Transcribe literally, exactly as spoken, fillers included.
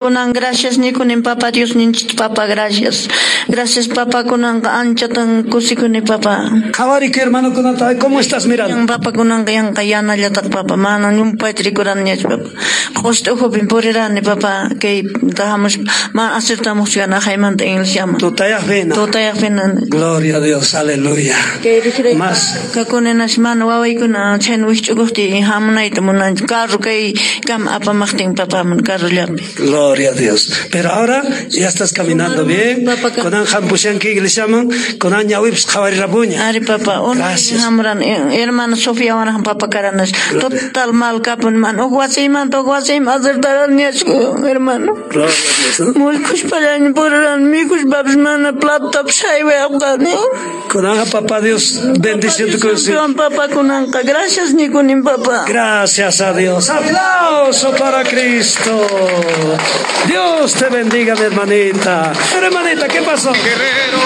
Kunan gracias nikunin papa Dios ninchik papa gracias. Gracias papa kunanqa anchatan kusikuni papa. Qhawariki hermanokunata, ¿cómo estás mirando? Papa kunanqa yanqa yanallataq papa, mana llumpayta rikuraniñachu papa. Q'usta ukhupin purirani papa, kay hamuspa mana acertamuqchu haymanta iglesiaman. Tutayaqpina. Tutayaqpina. Gloria a Dios, aleluya. Kay rijray Más. Kakuninash mana wawaykuna chhayna wikch'ukuqtiy hamunayta munanchu. Carro kay kama apamaqtin papaman carrollapi. Gloria a Dios. Pero ahora ya estás caminando bien. Kunan hampushanki iglesiaman, kunan ñawipis qhawarirapuña. Ari papa, Gracias. Hamuran hermana Sofía wan papa karanas. Total mal kapun man. Huk wasiymanta huk wasiyman acertaraniñachu hermano. Gloria a Dios, ¿no? Mullkushpallani puriran mikushpapis mana platotapis haywayapqani. Kunanqa papá Dios bendición tu Papa kunanqa gracias nikunin papa. Gracias a Dios. Aplauso para Cristo. Dios te bendiga, mi hermanita. Hermanita, ¿qué pasó? Guerrero.